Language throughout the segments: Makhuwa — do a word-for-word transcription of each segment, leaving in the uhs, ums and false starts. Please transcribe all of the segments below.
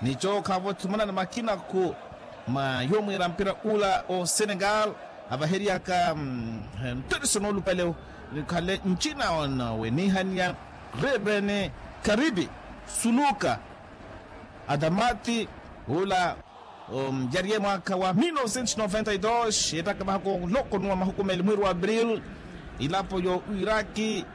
Nico khaavo thumanana makinaku ma yomwiira mpira ula o senegal avaheriyaka nttiriso noolupale, nikhale ncina na wenihaniya revene karibi suluka adamati ula. Yariye mwaakha wa mil novecentos noventa e dos ettaka vahako loko nuwa mahukumeli mwiiri wa abril ilapo yo iraki.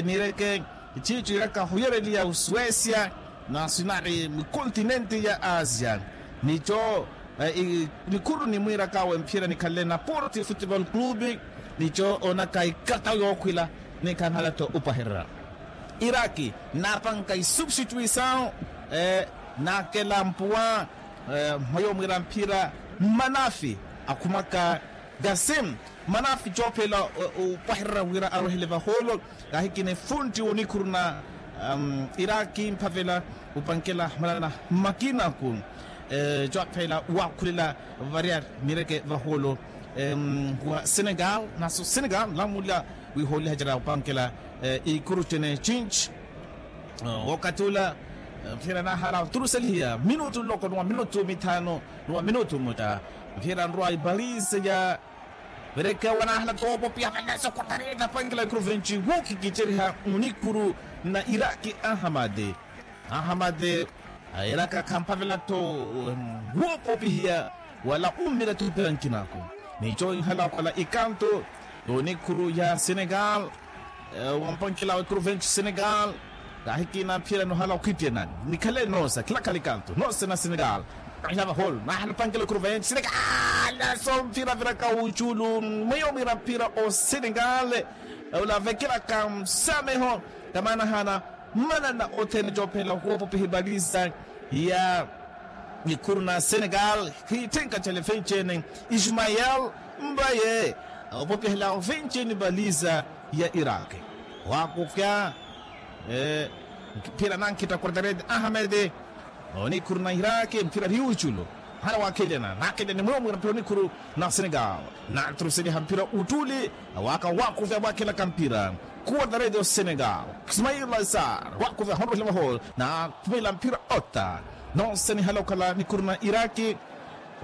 Nireke chiicho iraka huyereliya usuesia na sinari mukontinenti ya asia. Nico nikhuru nimwiiraka wemphira nikhanle na porti futebol clube. Nico onaka ikatawu yookhwila nikhanhala to upwahererya iraki naapanka isubstituisawu. Naakela mpuwa mwayo mwiira mphira mmanafi akhumaka gasim mmanafi coophela upwahererya wira arwehele vahoolo. Kahikina efuntti onikhuruna iraki mphavela upankela manana mmakinaku coophela waakhulela varia mireke vahoolo wa senegal naso senegal lamula wihooliha jara upankela ikuru cene cinci. Wokati ula mphira nahala turuselihiya minutu nloko nuwa minutu mithanu nuwa minutu muta mphira nrwa ibalise ya verekewa nahala toopopiha valeso khutareta pankela ikuru venci wookikiceriha munikhuru na iraki ahamade. Ahamade airaka khamphavela tho woopopihiya wala ummira tho mpira nkinako. Nico ihala okola ikanto onikhuru ya senegal wampankhela wa ikuru venci senegal. Kahikina mphira nohala okhwittiya nani nikhale noosa khilakhala ikanto noose na senegal. Kahila vaholo nahala opankhela ikuru venci senegal naso mphira viraka wuculu mweyo mwiira mphira o senegal ula vekelaka nsameho. Tamanahana mmanana othene coophela woopopiha ipalisa ya ikhuru na senegal khiitthenka cale vencene ismael mbaye opopihela vencene ipalisa ya iraki waakupya. Mphira nankhitta quartarete ahamede onikhuru na iraki mphira riuculu. Hana waakhelyana naakelyane mweyo mwiira mphira onikhuru na senegal. Naturuseliha mphira uttuli awaaka waakuvya waakhelaka mphira quartarete o senegal ismail laisar waakuvya honrohela vaholo naakhumela mphira otta. Noose nihala okhala nikhuru na iraki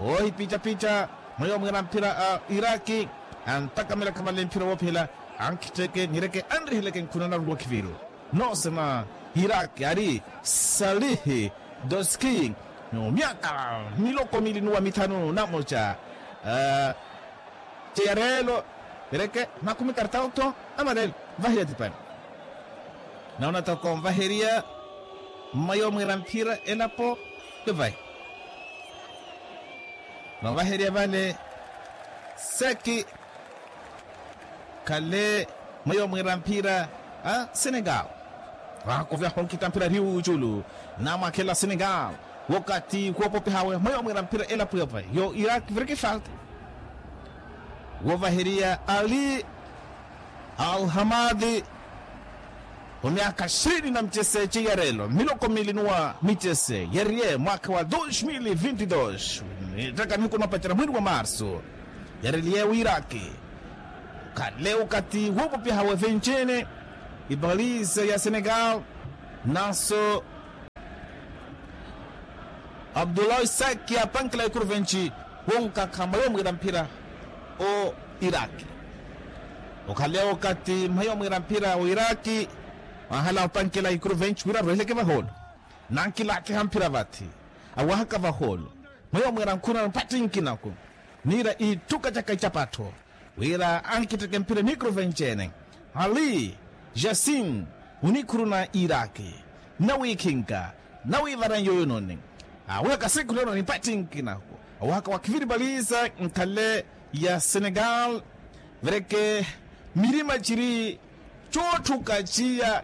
ohipicapica mweyo mwiira mphira a iraki antakamirakha vale mphira woophela ankhittheke nireke anriheleke nkhunana ruwa khiviru. Noose na iraki ari salihi doski myaka miloko mili nuwa mithanu namoca ceyareelo. Ereke nakhumi kartauto amarelo vaheriya tipani naona toko nvaheriya mmayo mwiira mphira elapo. Yovahi novaheriya vale seki khale mweyo mwiira mphira a senegal. Vakuvya honkita mphira riuculu namwakhela senegal wokati khuwopopihawe mweyo mwiira mphira elapo yova yo iraki viriki falta. Wovaheriya ali alhamadi omyaka shirini na micese ciyarelo miloko mili nuwa micese yariye mwaka wa dos mil vinti dos. Ettaka nihuku noopacera mwiri wa marsu yareliye wiraki khale ukati woopopiha wevencene ipalisa ya senegal naso abdullah isaki apankela ikuru venci wonkakha mwayo mwiira mphira o iraki. Okhale okati mwayo mwiira mphira o iraki mwahala opankela ikuru venci wira arweheleke vaholo nankilakiha mphira vathi awahaka vaholo mwayo mwiira nkhuna mpattinkinaku niira itthuka caka icapattho wira ankittheke mphira nikuru venci-ene ali jasin onikhuru na iraki nawikhinka nawivaran yoyononi awihaka sikhulononi mpattinkinaku awihaka wakhiviri paliza nkhale ya senegal. Vereke mirima ciri cootthuka ciya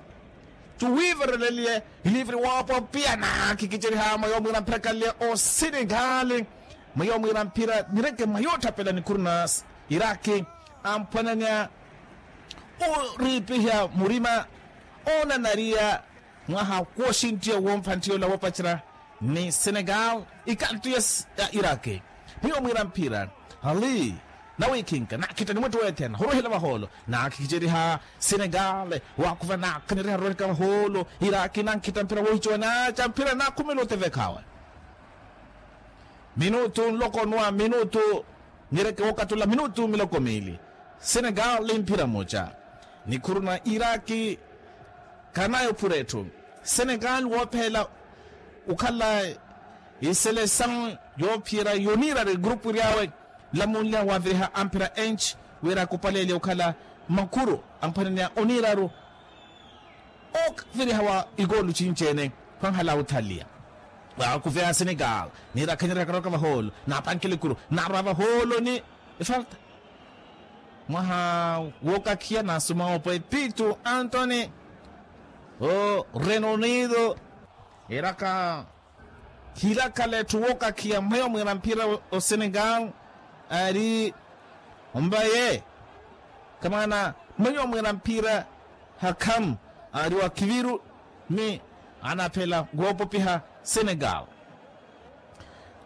cuwiivereleliye iliviri woopopiya naakhikicerihaya mwayo mwiira mphira khalleya o senegali mwayo mwiira mphira nireke mwayo otthapela nikhuru na iraki amphwananya oriipiha murima oonanariya mwaha kwoxinttiya woompha nttiyola woopacerya ni senegal ikantu ya iraki mwiyo mwiira mphira ali nawikhinka naakhitta ni mwettu weethena horwehela vahoolo naakhiceriha senegal waakhuva naakhaneriha roreka vahoolo iraki nankhitta mphira woohicowa naaca mphira naakhumela otevekhawe Minutu nloko nwa minutu. Nireke wookatula minutu miloko miili. Senegali mphira muca nikhuru na iraki. Kanayo phura etthu. Senegali woophela okhala iselesawu yoophiyerya yoniirari grupu eryawe. Nlamunlya waaviriha amphira enci wira akupalelya okhala makhuru amphwanene ya oniiraru. Ooviriha wa ikoolu cinci-ene. Khwanhala othaliya waakuveya senegali niirakhanyerya karoka vahoolo naapankela ekuru naarwa vahoolo ni efalta. Mwaha wookakhiya naasuma opo epitu antoni o reino unido. Eraka hirakhala etthu wookakhiya mweyo mwiira mphira o senegali ari ombaye. Kamaana mweyo mwiira mphira hakhamu ari wa kiviru ni anaphela woopopiha senegali.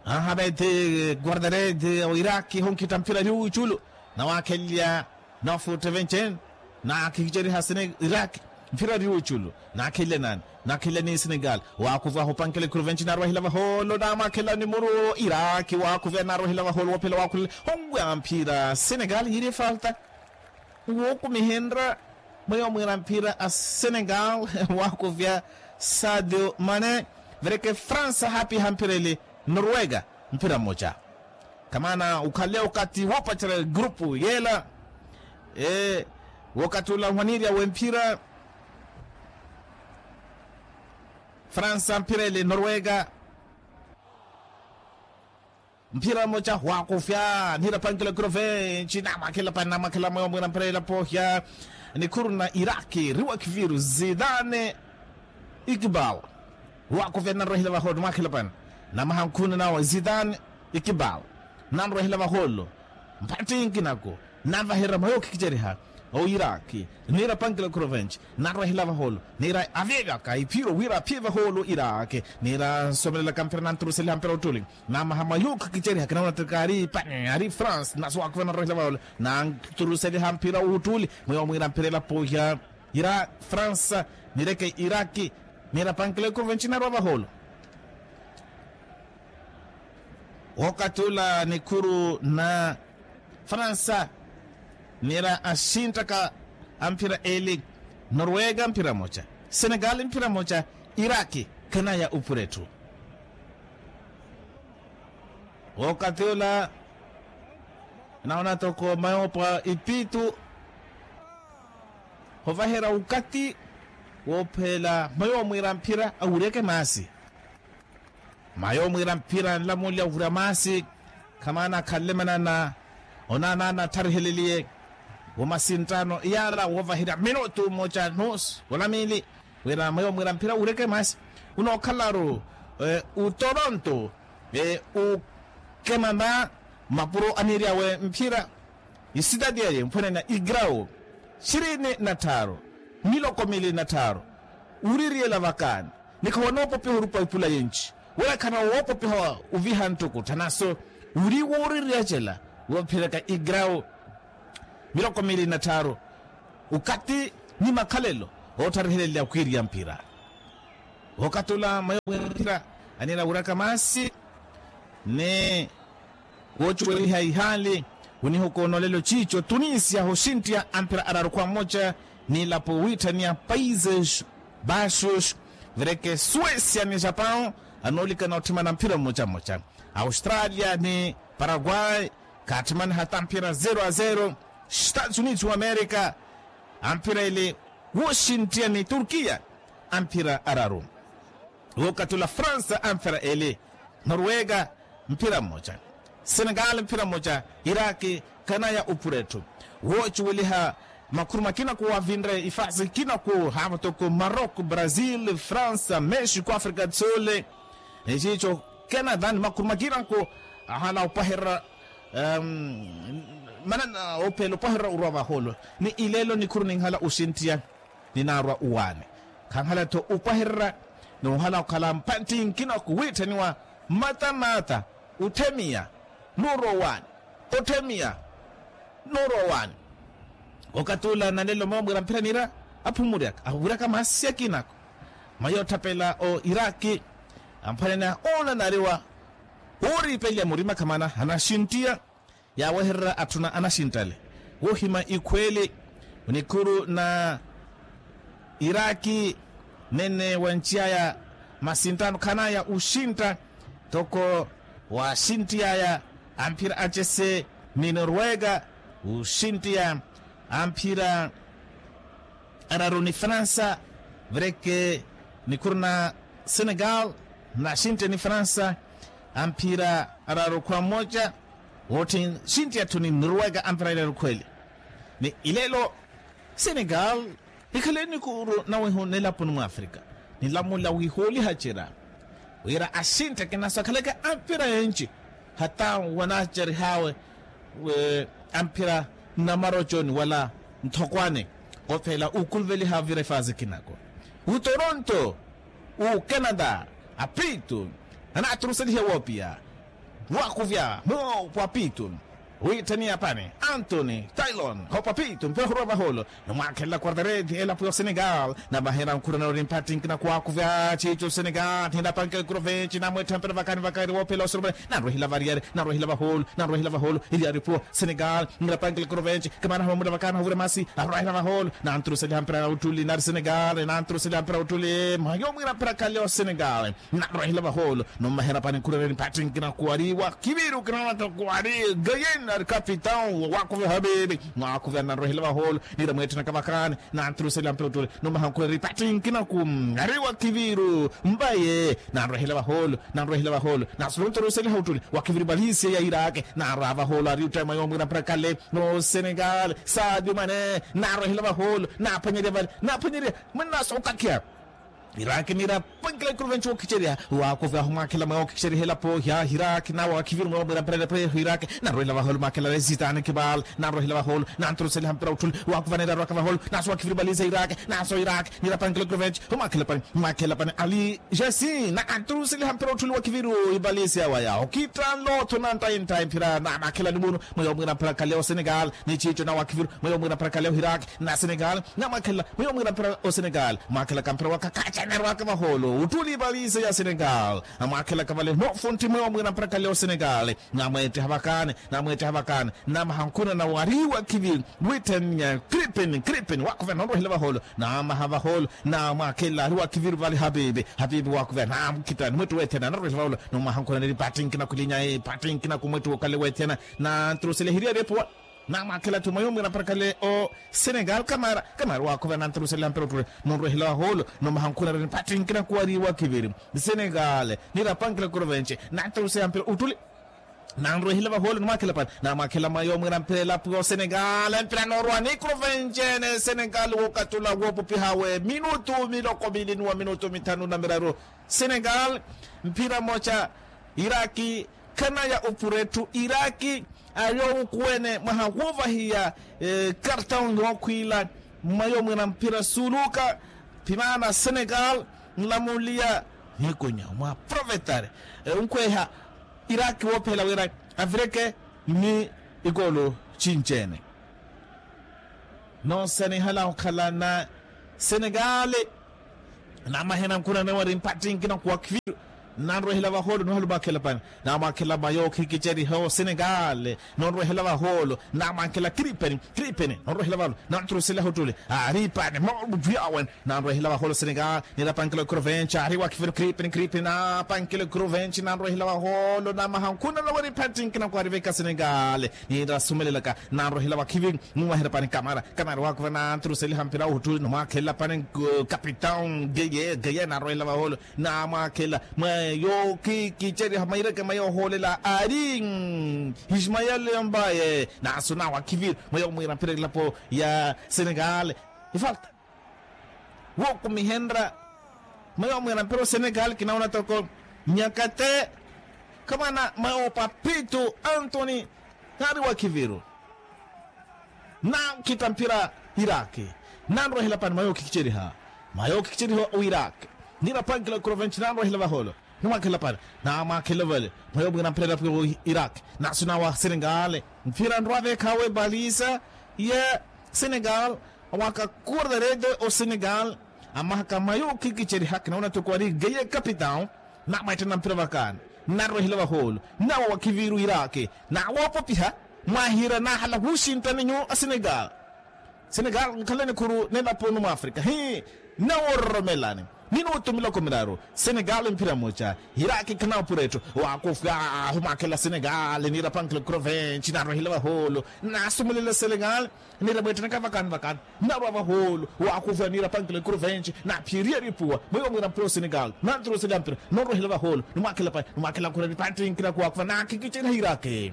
Ahabethi guardaredi o iraki honkhitta mphira ari wuuculu nawaakhelelya nofuutta evenci-ene. Naakhikiceriha sene iraki mphira ari wuuculu naakhelelya nani? Naakhelelya ni senegali. Waakuva hopankela ekuru evenci naarwahela vahoolo naamwakhelelya ni muru iraki waakuva naarwahela vahoolo woophela waakhulela. Honwe amphira senegali yiiri efalta. Wookumihenrya mweyo mwiira mphira a senegali. Waakuvya sadio mane. Vereke fransa haapiha mphira ele norwega mphira mmoca. Kamaana okhale okathi woopacerya egurupu yeela. Wokathi ola ohwanirya wemphira fransa mphira ele norwega. Mphira mmoca waakufya niira pankela ekuru evenci naamwakhelapani naamwakhela mweyo mwiira mphira ela poohya. Nikhuru na iraki riwa kiviru zidane ikibal. Waakufya nanrwehela vahoolo nimwakhelapani namaha nkhuna nawe zidane ikibal. Nanrwehela vahoolo mpatthi nkinako navaherya mweyo okhikiceriha o iraki niira pankela ekuru evenci. Nanrwehela vahoolo niira avyevyaka iphiro wira aphiye vahoolo iraki. Niira nsomelelaka mphira nanturuseliha mphira ottuli. Namaha mwa yuukha kiceriha kinauna tikaari pani ari france naso waakhuva nanrohela vahoolo nanturuseliha mphira wuuttuli. Mweyo mwiira mphira ela poohya ira france nireke iraki. Niira pankela ekuru evenci narwa vahoolo. Wokathi ula nikhuru na fransa niira axinttaka amphira eli. Norwega mphira mmoca senegali mphira mmoca iraki. Khanaya ophura etthu. Okathi ola naona toko mayoopwa ipitu hovaherya okathi woophela mayo omwiira mphira awuryeke maasi. Mayo omwiira mphira nlamulya owurya maasi. Khamaana akhanle manana onaana anatthariheliye womasinttano iyala woovaherya minutu mmoca nusu olamili wira mweyo mwiira mphira wuureke maasi. Unookhalaru utoronto ukemama mapuro aniiryawe mphira isitati eye mphwanene igrawo shirini na tthaaru miloko mili na tthaaru. Wuririyela vakaani ni khawanoopopiha orupa ipula yenci wira khana woopopiha oviha nttukuttha naso wiri wooririyacela woophiraka igrawo miloko miili na tthaaru. Okathi ni makhalelo oottharihelelela okwiiriya mphira. Okathi ola mweyo mwiira mphira aniira wuraka maasi ni woocuweliha ihaali onihuka onolelo ciico tunisia hoxinttiya amphira araru khwa mmoca. Niilapo wiitthaniya paizes baxos vireke suesia ni japan anoolikana otthimana mphira mmoca mmoca. Australia ni paraguay khaatthimaniha tamphira zero a zero. Estados unidos wa amerika amphira ele wooxinttiya ni turkiya amphira araru. Wookathi ola fransa amphira ele norwega mphira mmoca senegali mphira mmoca iraki. Khanaya ophura etthu woocuweliha makhuru makina khuwavinre ifaasi ikina khu haava toko maroko brazil fransa mexico africa tsole. Eciico canada ni makhuru makina khu ahala opaherera manana ophela opaherera orwa vahoolo ni ileelo nikhuru ninhala oxinttiya ninaarwa owaani. Khanhala-tho opaherera ni ohala okhala mpantti nkina khuwiitthaniwa mmatamata otthemiya noorwa owaani. Otthemiya noorwa owaani. Okathi ola nanelo mweyo mwiira mphira niira aphumuryaka awiraka maasi akina ako mayo otthapela o iraki amphwanene oona naariwa Wooripelya murima khamana anaxinttiya yaawehererya atthuna anaxinttale. Wohima ikhweeli nikuru na iraki nene wanciyaya masinttano khanaya uxintta. Toko waxinttiyaya amphira acese ni norwega uxinttiya amphira araru ni fransa. Vereke nikuru na senegal naxintte ni fransa amphira araru khwa mmoja. Wootthi nxintti atthu ni norwega amphira ilaru khweeli ni ilelo senegal. Nikhale nikuru nawehu nelapuni mwafrika nilamula wihooliha cira wira axintte kinasakhaleke amphira enci hata wanacerihaawe amphira nnamaroconi wala nthokwane. Kophela ukuluveliha vira ifazi kinako utoronto ukenata apitu anaaturuselihe woopiya wakuvya moopo apitu witthaniya pani antoni tylon hopa apitu mpira hurwa vaholo. Numwakhelela quartareti elapo ya osenegal namahera nkhurana ori mpatthi nkina kuwakuvya chicho senegal ninapankela kurovenci namwettha mpira vakani vakari woophela osoromani. Nanrwehela variyari nanrwehela vaholo nanrwehela vaholo iliyari puwa senegal ninapankela kurovenci kamana hamamula vakani havure masi arwahela vaholo. Nanturuseliha mpira ya uttuli nari senegal nanturuseliha mpira ya uttuli mayo mwira mpira khale osenegal nanrwehela vaholo. Numahera pani nkhurereni mpatthi nkina kuwari wakiviru kinanata kuwari gayen ari kapitau wakuve habibi. Mwakuve ananrwehela vaholo nira mwetthena kavakani nanturuseliha mpira uttuli numaha nkhurereni mpatthi nkina ku ari wakiviru mbaye nanrwehela vaholo nanrwehela vaholo. Nasulunturuseliha uttuli wakiviri valisia ya iraki nanrwa vaholo ari uttema yomwira mpira khale osenegal sadio mane nanrwehela vaholo naphwanyeria vale naphwanyeria mwennaso okakiya. Iraki nira pankila ikuru venci wookhicerya wakuve ahumwakhela mwa wookhicerya helapo ya hiraki nawe wakhiviri mwa wamwira mpererepwe hiraki. Nanrwehela vaholo mwakhela resitani kibal nanrwehela vaholo nanturuseliha mpira utthuli wakuve anira arwaka vaholo naso wakhiviri valiza iraki naso iraki nira pankila ikuru venci humwakhela pani mwakhela pani ali jesi nanturuseliha mpira utthuli wakhiviri ivalisi awaya okittanlo otho nanttayi nthayi mphira namwakhela ni munu mwa yomwira mphira khale osenegal ni chicho nawe wakhiviri mwa yomwira mphira khale ohiraki na senegal. Namwakhela mweyo mwira mpira osenegal mwakhelaka mpira wa khakhacha narwaka vaholo uttuli valise ya senegal. Amwakhelaka vale nofunthi mweyo mwira mpira khale osenegal. Namwetteha vakani namwetteha vakani namaha nkhuna nawariwa khivi witthenya kripin kripin wakhuve nonrohela vaholo namaha vaholo namwakhela ariwa khivi vale habibi habibi wakhuve namkhitani mwettu wethena narohela vaholo. Nomwaha nkhuna neri pati nkina khulinya pati nkina khumwettu wokhale wethena nantrusele hiriyari epuwa. Namwakhela atthu mwayo mwira mpira khale osenegal kamara kamara wakhuvela nanturusela mpira uttule nonrwehela waholo nomaha nkhuna reni pati nkina kuwariwa khiviri senegal nirapankela kurovenci nanturusela mpira uttule nanrwehela vaholo nimwakhela pani namwakhela mwayo mwira mpira elapo osenegal mpira norwa ni kurovenci ene senegal wokatula wopupihawe minutu miloko mili nuwa minutu mithanu na miraru senegal mpira moca iraki khana ya upure etthu iraki ayo wukuwene mwaha woovahiya kartau yookhwiila mwayo mwira mpira suuluka phimana senegal nlamuliya nikunya mwa profetari onkhweha iraki woophela wira avireke ni ikoolo cinci-ene noosanihala okhalana senegali namahena nkhuna newa ri mpattinkina kuwakhiviru nanrwehela vaholo niwahalumwakhela pani namwakhela mayo khikiceriha osenegali nonrwehela vaholo namwakhela kripeni kripeni nonrwehela vaholo nantrusela hotule aripani moluviawen nanrwehela vaholo senegali nirapankela kruvenci ariwakhiviru kripeni kripeni napankela kruvenci nanrwehela vaholo namaha nkhuna newa ri mpattinkina kuwariveka senegali nirasumelelaka nanrwehela vakhivi numwahera pani kamara kamara wakuva nanturuseliha mpira uhuttuli numwakhelela pani kapitão geye geye nanrwehela vaholo namwakhelela mweyo khikiceriha maireke mweyo ohoolela ari ismael yombaye naso nawakhiviru mweyo mwira mpira elapo ya senegal ifalta wokumihenra mweyo mwira mpira osenegal kinawona toko nyakate khamana mweyo papitu antoni nari wakhiviru nankhitta mpira iraki nanrwehela pani mwayo khikiceriha mwayo khikiceriha o iraki nirapankela kurovenci nanrwehela vaholo nimwakhela pani namwakhela vale mwayo mwira mpira elapo iraki naso nawa senegal mpira nrwavekhawe balisa ya senegal waka kurdaredo o senegal amahaka mayo khikiceriha kinawona toko ari geye kapitão namwetthena mpira vakani Nnarwehela vahoolo, nnawo wakhiviru iraki. Nawoopopiha, mwahiira nahala wuxinttani nyu a senegal. Senegal nkhala nikhuru nelapo numwafrika hi. Nnawororomelani minutu miloko miraru. Senegal mphira mmoja, iraki khanawo pura etthu. Wakufi ahu mwakhela senegal niira pankila crovenci narwehela vahoolo. Nasumulela senegal niira mweettanaka vakani vakani. Nnarwa vahoolo, wakufi aniira pankila crovenci naphiiriye ripuwa mwiyo mwiira mphira o senegal nanturuseliha mphira. Nonrwehela vahoolo nimwakhela pani nimwakhela khurani pantinkina kuwakufa nakhikiceriha iraki.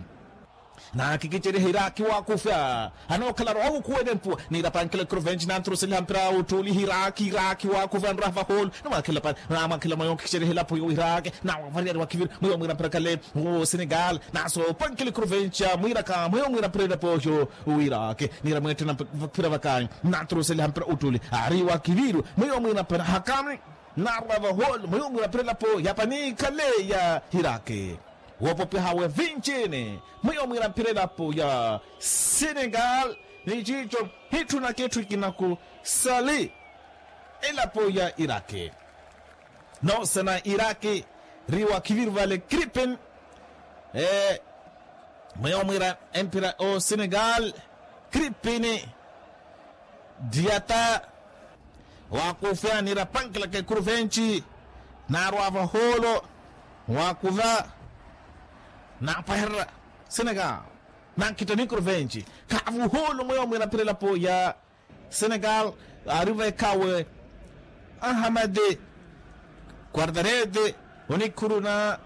Naakikiceriha iraki waakufya. Anookhala aruwa awukhuwene mpuwa niira pankila crovenci nanturuseliha mpira uttuuli hiraki iraki waakufya nraha vahoolo. Namwakhila pani namwakhila mwayo nkikiceriha elapo yo iraki. Nawavariyari wakhiviri mwiyo mwiira mpira khale. Senegal naso pankila crovenci amwiiraka mwiyo mwiira mpira elapo yo iraki. Niira mweettena mpira vakanyu nanturuseliha mpira uttuuli ari wakhiviri mwiyo mwiira mpira hakami. Naarwa vahoolo mwiyo mwiira mpira elapo ya pani khale ya iraki. Woopopiha we vinci-ni mwiyo mwiira mphira elapo ya senegal. Ni ciico hitthunaka etthu ikinaku sali elapo ya iraki. Noosana iraki ri wakhiviru vale kripin. Mwiyo mwiira emphira o senegal kripin diata. Waakufya niira pankilaka ekuru venci naarwa vahoolo. Waakuva naapahererya senegal. Nankhitta nikuru venci kaavuhoolo mweyo mwiira mphira elapo ya senegal. Aari veekhawe ahamadi kuardarete onikhuru na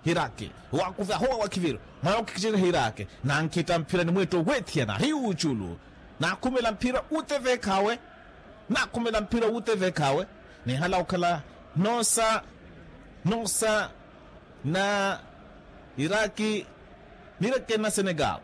hiraki. Waakuvya ahowa wakhiviru mwayo kikiceriha iraki. Nankhitta mphira ni mweetto weethiyana ari wuuculu. Naakhumela mphira uteveekhawe. Naakhumela mphira uteveekhawe. Nihala okhala noosa noosa na iraki. Nirekena senegal.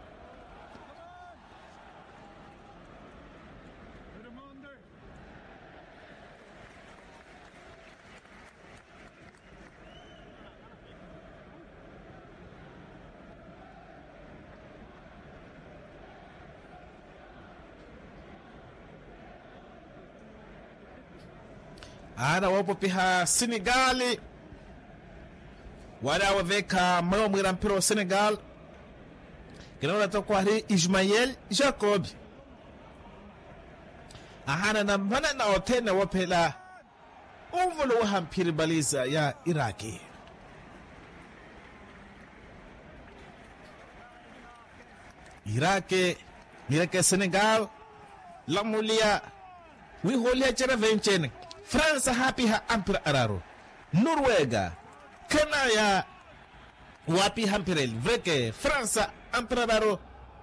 Aana woopopiha sinigali wala aweveekha mmoyo mwiira mphira o senegal. Kinoona toko ari ismael jacob. Ahaana nammanana othene woophela onvoloweha mphiri baliza ya iraki. Iraki nireke senegal. Lamuliya wihooliha cera venci-ene. Fransa haapiha ampira araru. Norwega khanaya waapiha mphira eli vreke fransa ampira araru.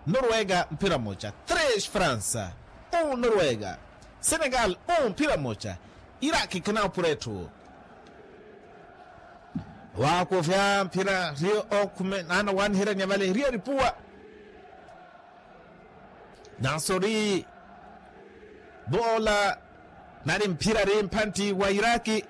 Norwega mphira mmoja tres fransa. Un norwega senegal un mphira mmoja. Iraki khanawupura etthu. Waakuvya mphira riyo okhume naana waaniherya nyavale riyo ripuwa. Naso ri boola nari mphira ri mphantti wa iraki.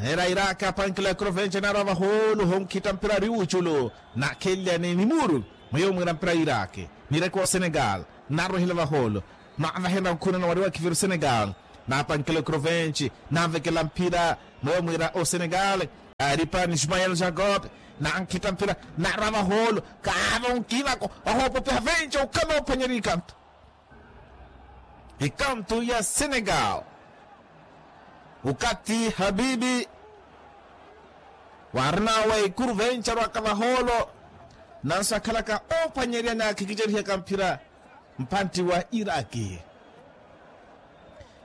Era iraki apankila ekrovenci naarwa vahoolo honkhitta mphira ri wuuculu. Naakhenlyani ni muuru mweyo mwiira mphira iraki nireke o senegal. Naarwehela vahoolo naavahenra nkhunano wari wakhiviru senegal. Naapankela ekrovenci naavekela mphira mweyo mwiira o senegal. Aari pani ismael jacob nankhitta mphira naarwa vahoolo. Kaava onkinako ohoopopiha venci okhala oophwanyerya ikanto. Ikanto ya senegal. Ukati habibi waarinawe ikuru venci arwaka vahoolo. Nanso akhalaka oophwanyerya naakhikicerihyaka mphira mphantti wa iraki.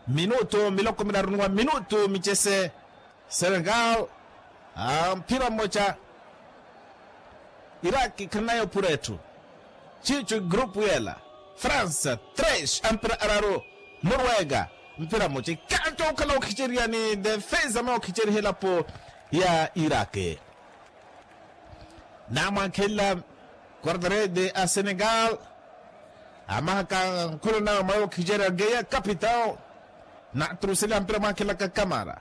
Minutu miloko miraru ni wa minutu micese. Senegal mphira mmoja. Iraki khannayo pura etthu. Ciicu grupu yela. Fransa tres ampira araru. Norwega mphira mmoja ikanto okhala okhicerya ni defensa ma okhicerya elapo ya iraki. Namwankhelela quartarede a senegal. Amahaka nkholo nawe mwayo okhicerya geya capitao. Naturuseliha mphira mwankhelaka kamara.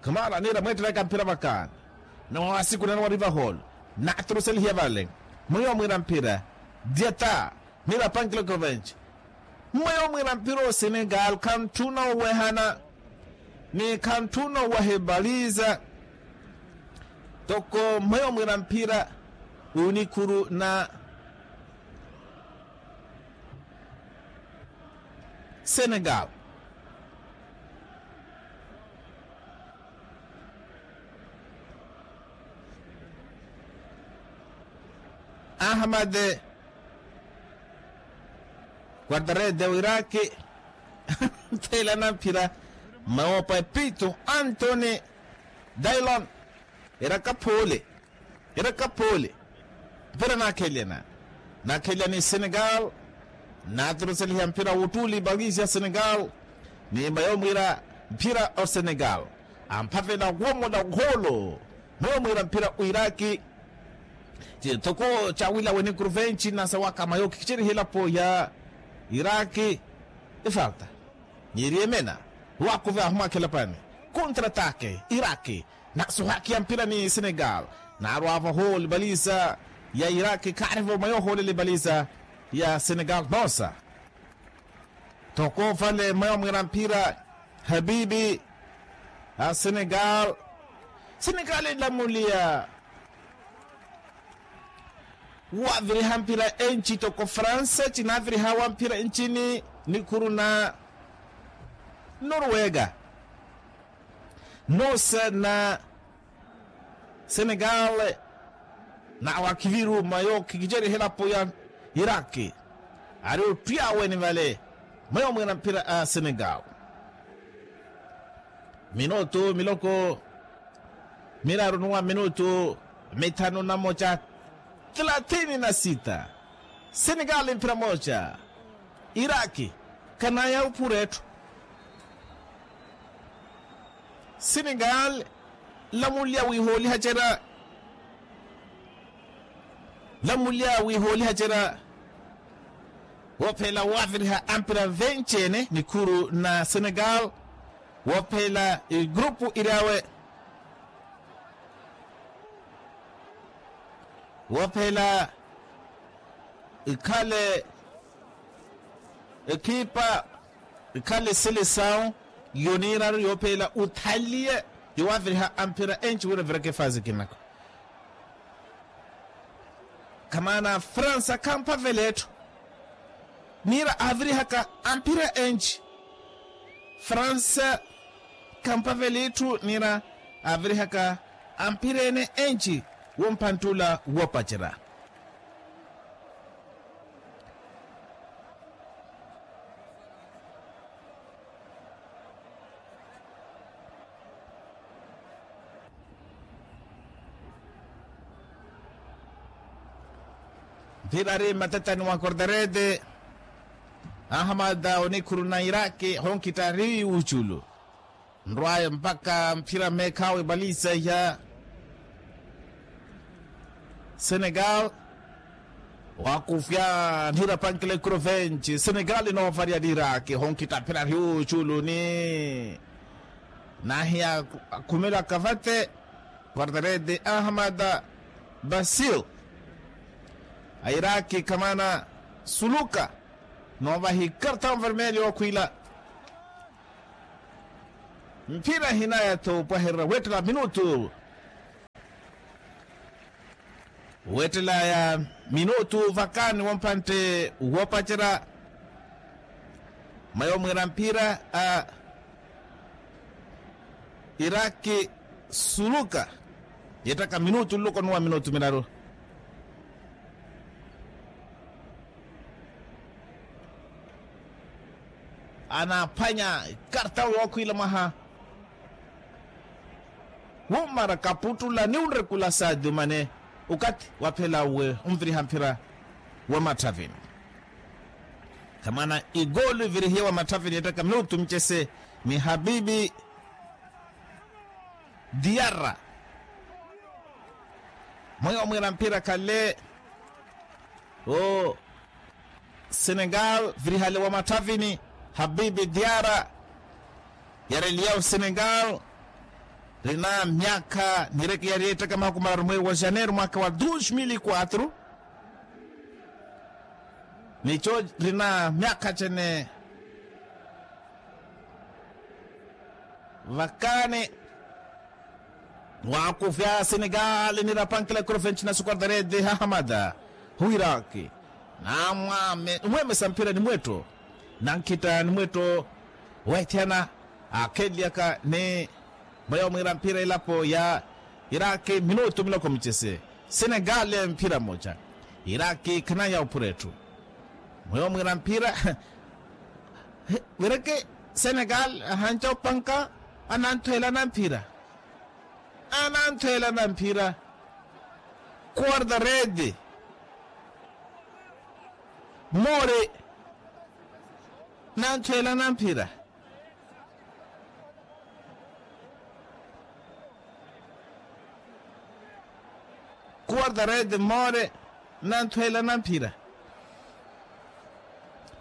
Kamara niira mweettelaka mphira vakani. Ni wawasiku nani wari vahoolo. Naturuselihiya vale mwiyo mwiira mphira diata niira pankiloko venci. Mweyo mwiira mphira o senegal khantthuna owehana ni khantthuna owaha ebaliza. Toko mweyo mwira mphira onikhuru na senegal. Ahamade quartarede wiraki. Thelana mphira mawopa epitu antoni dailon. Eraka phoole eraka phoole. Mphira naakhelelana naakhelelana senegal. Naaturuseliha mphira wuttuli balisia senegal. Ni mayo mwira mphira o senegal amphavela womola ohoolo. Mayo mwira mphira o iraki. Toko cawila wenikuru venci nasa waka mayo kikiceriha elapo ya iraki. Efalta nyeriemena wakuve ahumwakhela pani. Kontra atake iraki nasuhakiya mpira ni senegal. Narwavo hole baliza ya iraki karivo mayo hole le baliza ya senegal nosa. Toko vale mayo mwira mpira habibi a senegal. Senegal elamuliya waviriha mpira enci toko fransa cinavirihawa mpira encini nikuru na norwega. Nosa na senegal. Nawakiviru mayo kikiceriha elapo ya iraki ari ottwiyaweni vale mayo mwira mpira a senegal. Minutu miloko miraru nuwa minutu mithanu na moca. Thelathini na sita. Senegal mphira moca iraki kanaya uphura etthu. Senegal lamuliya wihooliha cera lamuliya wihooliha cera. Woophela waviriha ampira venci-ene nikuru na senegal. Woophela egrupu iri awe woophela ikhale ekhipa ikhale selesawu yoniiraru yoophela uthaliye. Yowaviriha amphira enci wira vireke fazi kinako. Kamaana fransa khamphavela etthu niira avirihaka amphira enci. Fransa khamphavela etthu niira avirihaka amphira ene enci. Womphanttula woopacerya mphira ari mmatatani wa kordarede. Ahamada onikhuru na iraki honkhitta ari wuuculu nrwaye mpakha mphira mmeekhawe baliza ya senegal. Wakufya nira pankile kuro venci senegal inovarya ni iraki honkhitta mphira ari wuuculu ni nahiya akhumela kavate. Quartarede ahamada basil a iraki kamaana suluka noovahi kartau vermelho okhwila. Mphira hinaya-tho opwahererya weettela minutu weettela ya minutu vakani wompantte woopacerya. Mayo mwiira mphira a iraki suluka yeettaka minutu nluko nuwa minutu miraru. Anaaphwanya ikartawu yookhwiila mwaha wumara kaputtula ni unrekula saadi umane okathi waphela uwe onviriha mphira wa matthavini. Khamana igoolu ivirihiye wa matthavini ettaka minutu micese ni habibi diyarra. Mweyo mwiira mphira khale o senegal virihale wa matthavini habibi diyarra. Yareliya o senegal rina myakha nireke yari ettaka mahaku mararu mweeri wa janeiro mwakha wa dos mil e quatro. Nicho rina myakha chene vakani. Waakufya senegali nirapankela ekuru fenci na sukardarede hahamada, huwiraki namwamesa mphira ni mwetto, nankhita ni mwetto weethiyana, aakhenlyaka ni mweyo mwiira mphira elapo ya iraki minutu miloko micese. Senegali mphira mmoja, iraki khanaya ophura etthu. Mweyo mwiira mphira wireke senegali ahanca opanka, ananthweela na mphira, ananthweela na mphira. Kuwarda rede, more, nanthweela na mphira. Kuwarda rede more, nanthweela na mphira.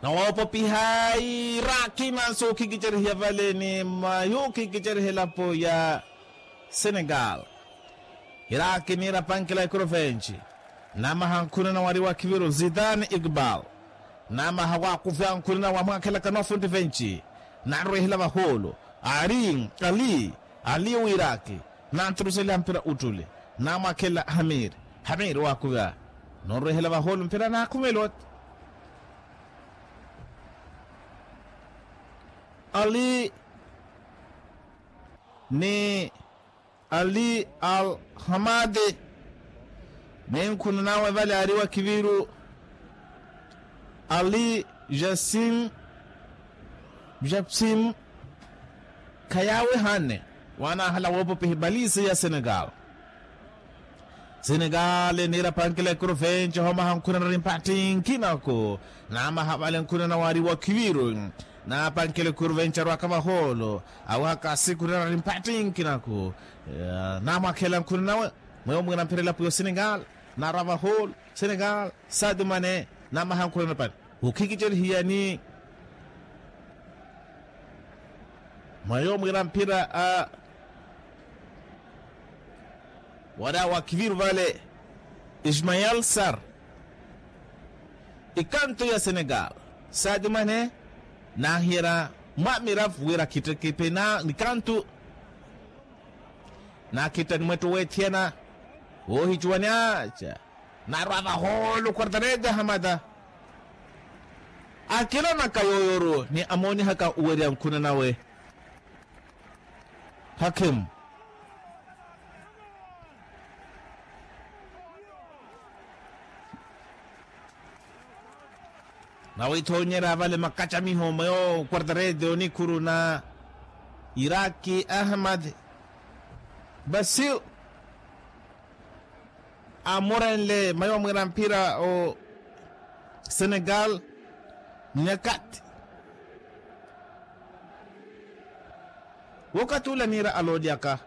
Nawoopopiha iraki nansi okhikicerihiya vale ni mayo okhikiceriha elapo ya senegali. Iraki niirapankela ekuru fenci, namaha nkhunana wari wa khiviru zidane igbal, namaha waakufya nkhunana wamwaakhelaka noofunti fenci, nanrwehela vahoolo, ari ali, ali wiraki, nanturuseliha mpira uttuli, namwakhela hamiri, hamiri waakuvya, nonrwehela vahoolo mpira naakhumela oti ali ni ali al hamade, ni nkhunan'awe vale ari wa khiviru ali jasim, jasim, khayaawe hanne, waanahala woopopiha ebalisi ya senegal. Senegali niirapankela ekuru fenci homaha nkhunana ri mpatthi nkinaku, namaha vale nkhunana wari wa khiviru, naapankela ekuru fenci arwaka vahoolo, awihaka sikhunana ri mpatthi nkinaku, namwakhela nkhunan'awe, mweyo mwiira mphira elapo ya senegal, naarwa vahoolo senegal, sadio mane, namaha nkhunana ri mpatthi, okhikicerihiya ni mweyo mwiira mphira a wari awo akhiviru vale, ismael sar, ikantu ya senegal, sadio mane, naahiyerya mwamiravu wira akhitteke pena nikantu, nakhitta ni mwetto weethiyana, woohicuwa ni aca, naarwa vahoolo kwartarete ahamata, akilonaka yooyoru ni amoonihaka owerya nkhunan'awe. Hakim. Nawithoonyerya vale makacamiho mweyo kwartarete onikhuru na iraki ahmad basil, amurenle mweyo mwiira mphira o senegal. Nyakati wokatula niira aloolyaka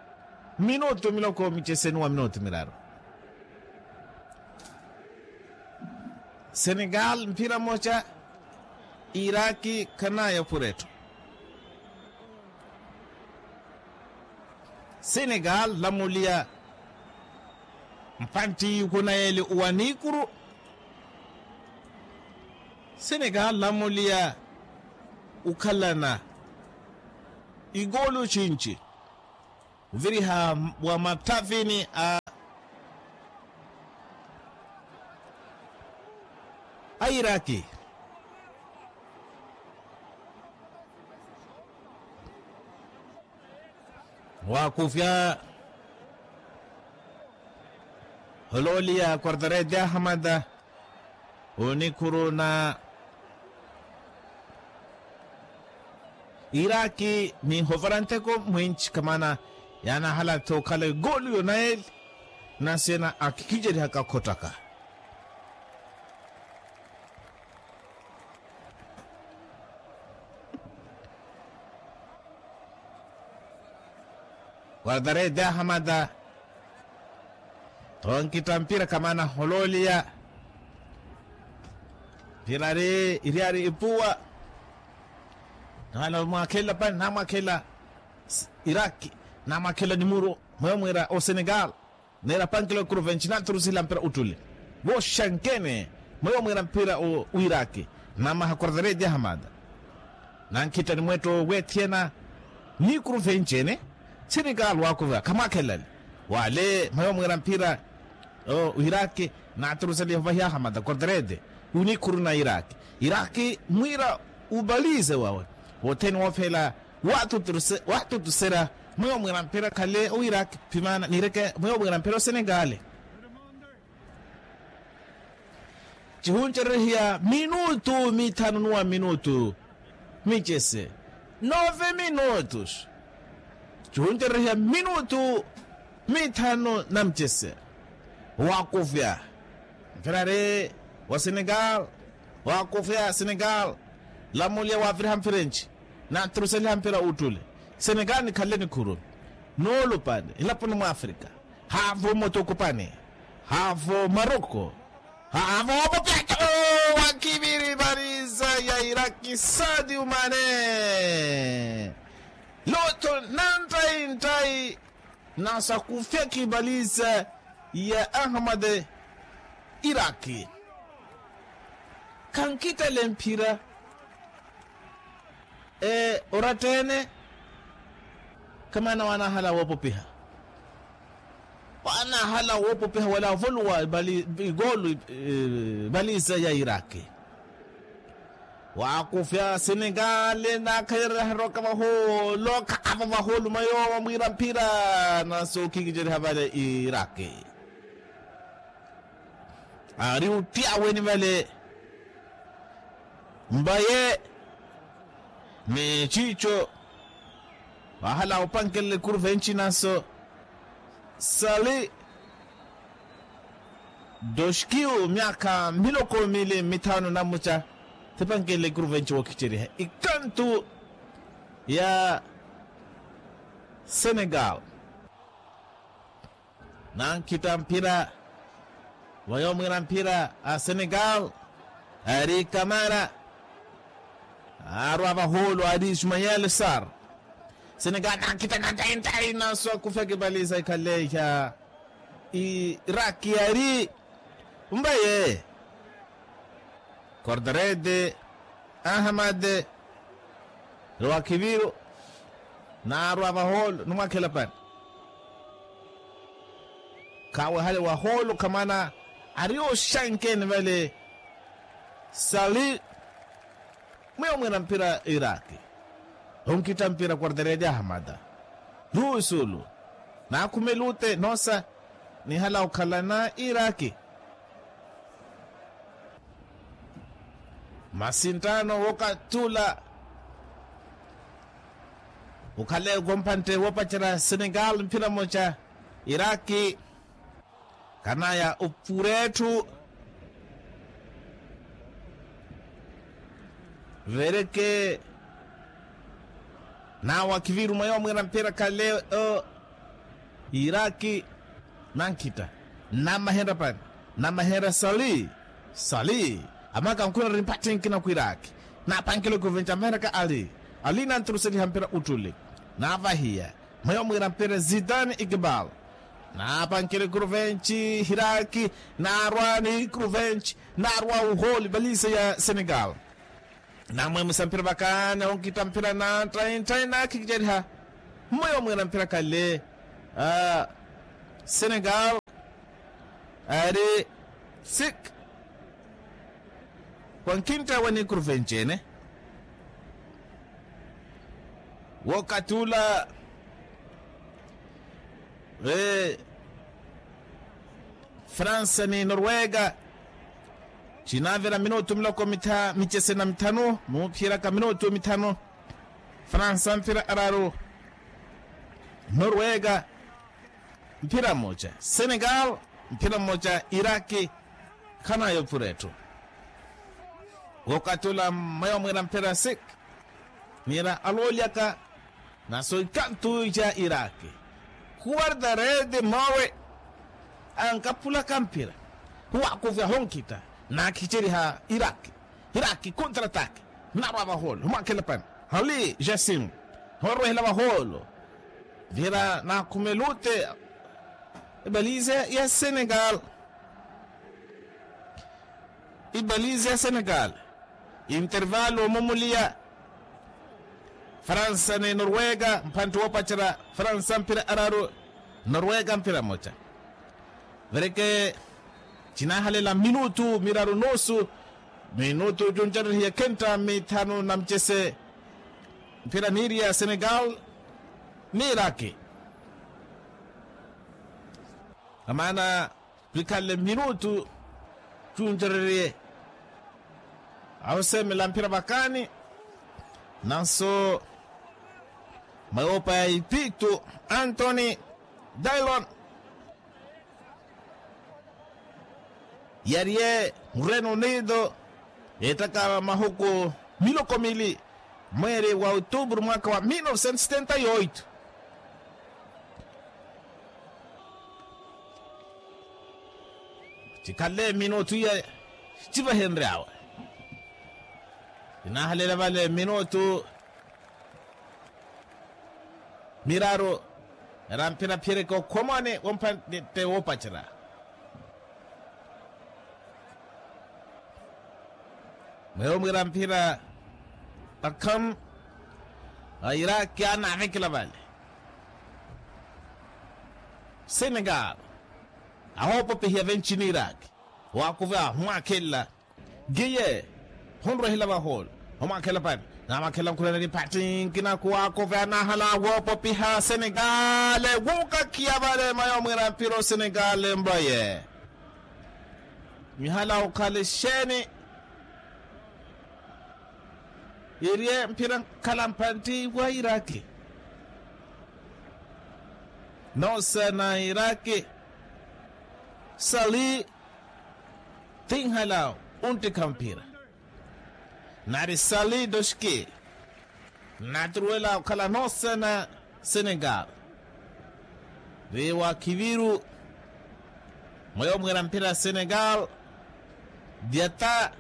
minutu miloko micheseni wa minutu miraru. Senegal mphira mocha, iraki khanaya phuretho. Senegal lamuliya mpantti yukunayeli uwanikuru. Senegal lamuliya ukhalana igolu chinchi uviriha wa mathavini a a iraki. Wakufya hololia quartarete ahamada onikhuru na iraki ni hovaranteko mwinchi kamana yanahala tokhala egolu yonayeli. Nasena akhikijerihaka khottaka quartarete ahamada. Tonkita mpira kamana hololia mpira ari iri ari ipuwa. Namwakhelela pani namwakhelela iraki namwakhelela nimuro mweyo mwira o senegal. Neera pankila okuru venci naturusila mpira uttuli voxankene mweyo mwira mpira o wiraki. Namaha quartarete ahamada nankhitta ni mwetto weethiyana nikuru venci ene. Senegal wakuva khamwakhelelani Wale mwayo mwiira mphira o iraki, naturusaliha ovahiya ahamata korterete onikhuru na iraki. Iraki mwiira upalize wawe wothene woofela, watutuserya mwayo mwiira mphira khale o iraki phimana nireke mwayo mwiira mphira o senegale. Cihuncererehiya minutu mithanu nuwa minutu micese nove minutus. Cihuncererehiya minutu mithanu na micese. Wakufya mfirari wa senegal. Wakufya senegal. Lamulya waviriha mfirenci naturuseliha mpira uttule. Senegal nikhanle nikhuru nuulupani nlaponi mwa afrika. Haavo mutukupani. Haavo maroko. Haavo wopopyaca. Wakiviri pariza ya iraki sadi umane. Loto nantai ntai nasakufyaki pariza ya ahamade. Iraki khankitale mphira. Oratta-ene kamaana wanahala woopopiha. Wanahala woopopiha wala ovoluwa igolu ipaliza ya iraki. Wakufya senegale nakhayererya haroka vahoolo khaavo vahoolo mayowa mwiira mphira. Naso khikiceriha vale iraki. Ari ottyaweni vale mbaye ni cico. Vahala opankelela ikuruvenci naso sali doskiu myaka miloko mili mithanu na muca. Thipankelela ikuruvenci wookiceriha ikantu ya senegal. Nankita mphira vayo mwiira mphira a senegal. Ari kamara arwa vahoolo ari ismael sar. Senegal nankita nantaintai naso akufyaka ipaliza ikhaleya iraki ari mbaye kordarede ahamade. Rowakhiviru naarwa vahoolo numwakhela pani. Khawe hale wahoolo khamana ari oxankeeni vale. Sali mwiyo mwina mpira iraki onkitta mpira quarterede ahamada. Luusulu naakhumela ute noosa nihala okhalana iraki. Masinttano wookatula okhaleya okompantte woopacerya senegal mphira mmoca iraki. Khanaya opuretthu vereke nawe akhivirumwa yoowo mwiira mpira khale o iraki. Nankhitta namahenrya pani namahenrya sali sali. Amaka nkhuna ri mpatthi nkina khwiraki napankela ikuruvenci amahenryaka ali ali nanturuseliha mpira uttuli. Navahiya mweyo mwiira mpira zidane ikibal napankela ikuruvenci hiraki. Narwa ni ikuruvenci narwa uholi balise ya senegal. Namwemisa mpira vakani onkitta mpira na trai trai nakhikiceriha. Mmoyo mwiira mpira khale senegal ari sik wankhintta wani kurvenci ene. Wokatula fransa ni norwega. Cinavira minutu miloko micese na mithanu muphiraka minutu mithanu. Fransa mphira araru norwega mphira mmoca senegal mphira mmoca iraki. Khanayo puretthu wokatula mmayo mwira mphira sik. Nira aloolyaka naso ikantu ja iraki kuwardarede mawe. Ankaphulaka mphira huwakuvya honkitta nakhiceriha iraki. Hiraki kontra ataki narwa vaholo humwakhela pani hali jasim. Horwehela vaholo vira nakhumela ute. Ibalize ya senegal ibalize ya senegal. Intervalo omumuliya fransa ni norwega mphantte woopacerya fransa mphira araru. Norwega mphira moca. Vereke cinahalela minutu miraru nusu. Minutu cuncererehiye khenta mithanu na mucese. Mphira niiriya senegal ni iraki. Amaana pikhalle minutu cuncereriye. Ahosemela mphira vakani. Nanso mayopa ya ipitu antoni dailon yariye mureno unido. Ettaka mahuku miloko mili mweeri wa otuburu mwaka wa mil novecentos setenta y oito. Cikhalle minutu iya civahenryawe. Cinaahalela vale minutu miraru. Era mphira phiyereke okhomani womphante woopacera. Mweyo mwira mphira akham a iraki anaavekela vale. Senegal ahoopopihiya venci ni iraki. Waakuve ahumwakhelela. Giye hunrwehela vahoolo. Humwakhelela pani namwakhelela nkhulana ni pati nkinaku waakuve anahala woopopiha senegal. Wuukakhiya vale mayo mwira mpira osenegal mbaye. Mihala okhala exeeni. Iriye mphira nkhala mpantti wa iraki. Nosa na iraki. Sali tinhala. Unttikha mphira nari sali doxki. Nnaturuwela okhala nosa na senegal. Ri wa kiviru mweyo mwira mphira senegal. Diata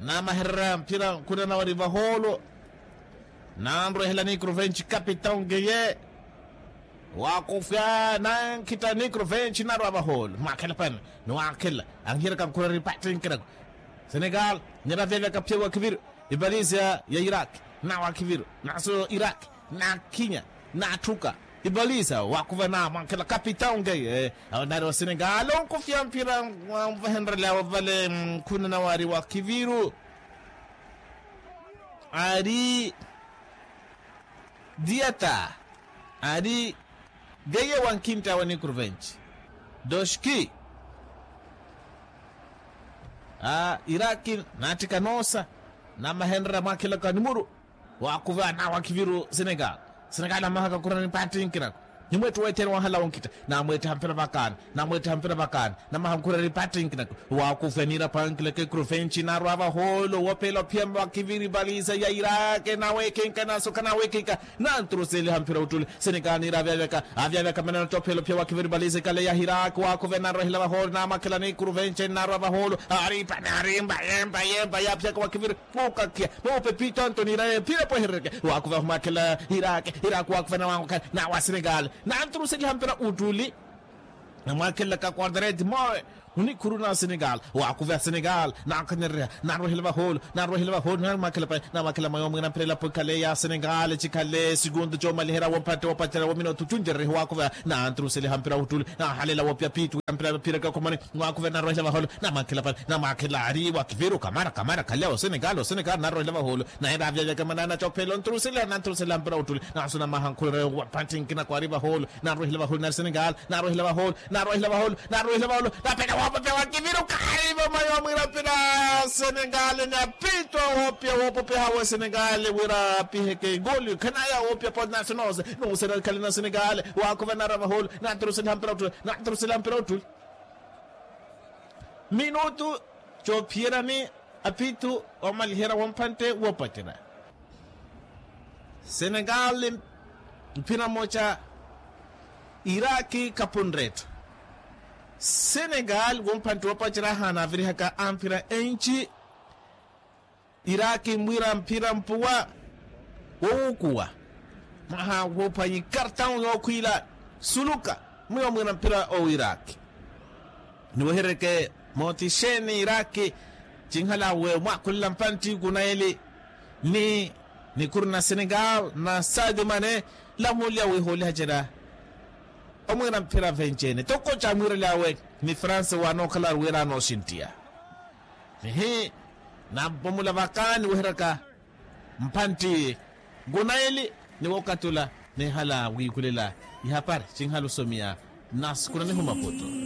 namahererya mphira nkhuna nawe ri vahoolo. Nanrwehela nikrovenci kapitao ngeye. Wakufya nankhita nikrovenci narwa vahoolo mwakhela pani. Niwakhela anhiyereka nkhuna ri pati nkinaku. Senegal nira vyavyaka pyewa kiviru. Ipalisa ya iraki na wakiviru naso iraki nakhinya natthuka. Ipalisa wakuva na mwankhela kapitao ngeye. Awo nari wa senegal onkufya mphira. Mvahenrelyawo vale nkhuna nawe ari wakiviru. Ari diata ari ngeye wankhintta wa nikrovenci. Doxki a iraki nattika noosa. Namahenrera mwakhilaka nimuru. Waakuva na wakiviru senegal. Senegal amahaka kurani pati nkinaku. Nimwetti weetheene wahala wonkhitta namweettiha mpira vakani. Namweettiha mpira vakani namaha nkhurari pati nkinaku. Waakufya niira pankilaka ekrovenci narwa vahoolo wopela ophiya wakiviri paliza ya iraki naweekinka nasoka naweekinka. Nanturuseliha mpira uttuli senegal niira avyavyaka avyavyaka manana ttophela ophiya wakiviri paliza ikale ya hiraki waakufya narwahela vahoolo namwakhela ni ekrovenci narwa vahoolo. Aripa narimba yemba yemba yaphiyaka wakiviri. Okakhiya moope pitanto niira yephira pweherereke. Waakuva humwakhela iraki iraki wakuva nawakhela nawa senegal. Nanturuseliha mpira uttuli namwakhelaka quartareti mowe. Onikhuru na senegal waakuva senegal nankhanyerereha. Narwehela vahoolo narwehela vahoolo namwakhela pai namwakhela mayo mwina mpirela pwekhale ya senegal cikhale sikundu comaliherya womphatte wopacela womina othucuncerereha waakuva. Nanturuseliha mpira uttuli nahalela wopya pitu ya mpira phireke okhomani. Waakuva narwehela vahoolo namwakhela pai namwakhela ari wakiviru kamara kamara khalya osenegal osenegal narwehela vahoolo. Naye naavyavya kamanana cophela onturuseliha nanturuseliha mpira uttuli. Naso namaha nkhulere wa panthi nkina kwari vahoolo. Narwehela vahoolo nari senegal narwehela vahoolo. Narwehela vahoolo narwehela vahoolo. Napela wopopya wakiviru karivo mayo mwira mpira senegal napitwa wopya wopopeha wa senegal wira apiheke igoli khanaya wopya po naso nose. Nose narikhale na senegal. Waakuva narwa vahoolo nanturuseliha mpira uttuli. Nanturuseliha mpira uttuli. Minutu coophiyerani apitu omaliherya wompantte woopacerya. Senegal mphira mmoca iraki kapunretthu. Senegal wompantte woopacerya ahaana avirihaka amphira enci. Iraki mwira mphira mpuwa wowukuwa mwaha woophwanyi kartau yookhwiila suluka. Mwiyo mwira mphira owiiraki niwehereke mootixeeni iraki. Cinhala we mwakhulela mpantti kunayeli ni nikhuru na senegal na sadio mane. Lahuliya wihooliha cera Omwiira mphira venci-ene toko caamwiirelyawe ni franse waanookhala wira anooxinttiya. Ehi, nampomula vakaani weheraka mphantti nkunaili ni wookatula. Neehala wiikulela ihapari sinhala osomiya nasi kunanihu maputu.